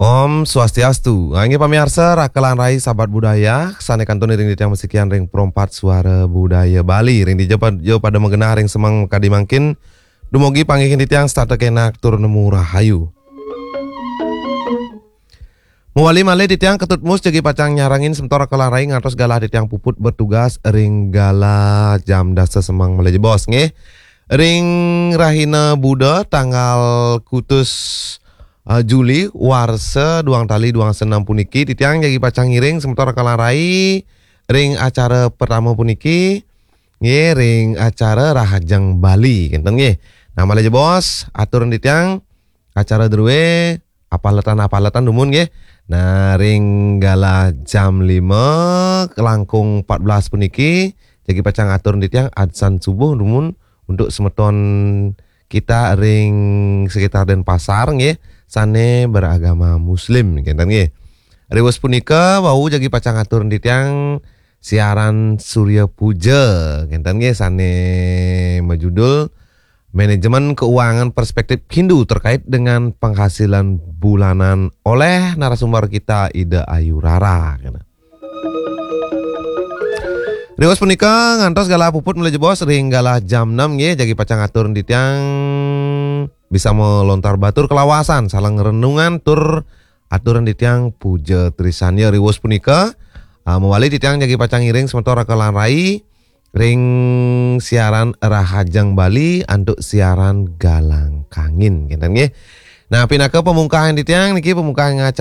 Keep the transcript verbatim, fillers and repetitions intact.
Om Swastiastu. Ah, inggih pamiarsa, raka lan rai sahabat budaya, sane kantun iring titiang masikian ring Pro empat Suara Budaya Bali. Ring dija pa-, ja pada magenah ring semeng kadi mangkin, dumugi panggihin titiang setata kenak tur nemu rahayu. Mawali malih titiang Ketut Mus jagi pacang nyarengin semeton raka lan rai ngantos galah titiang puput bertugas ring galah jam dasa semeng malih jebos, nggih. Ring rahina Buda tanggal kutus eh, Juli warsa duang tali duang senam puniki, titiang jagi pacang ngiring semeton raka lan rai ring acara pertama puniki, nggih, ring acara Rahajeng Bali, kenten nggih. Nah, malih jebos, atur titiang acara drue apaletan-apaletan dumun nggih. Nah, ring galah jam lima kelangkung empat belas puniki, jagi pacang atur titiang adzan subuh dumun untuk semeton kita ring sekitar Denpasar nggih, sane beragama Muslim, kenten nggih. Riwus punika wau jagi pacang atur titiang siaran Surya Puja, kenten nggih, sane majudul Manajemen Keuangan Perspektif Hindu terkait dengan penghasilan bulanan oleh narasumber kita Ida Ayu Rara. Riwus punika ngantos galah puput malih jebos ring galah jam enam nggih, jagi pacang atur titiang bisa melontar batur kalawasan, salang renungan tur atur titiang puja trisanya. Riwus punika, ah, mawali titiang jagi pacang ngiring semeton raka lan rai ring siaran Rahajeng Bali antuk siaran Galang Kangin, kenten nggih. Nah, pinaka pamungkahan titiang niki, pamungkahan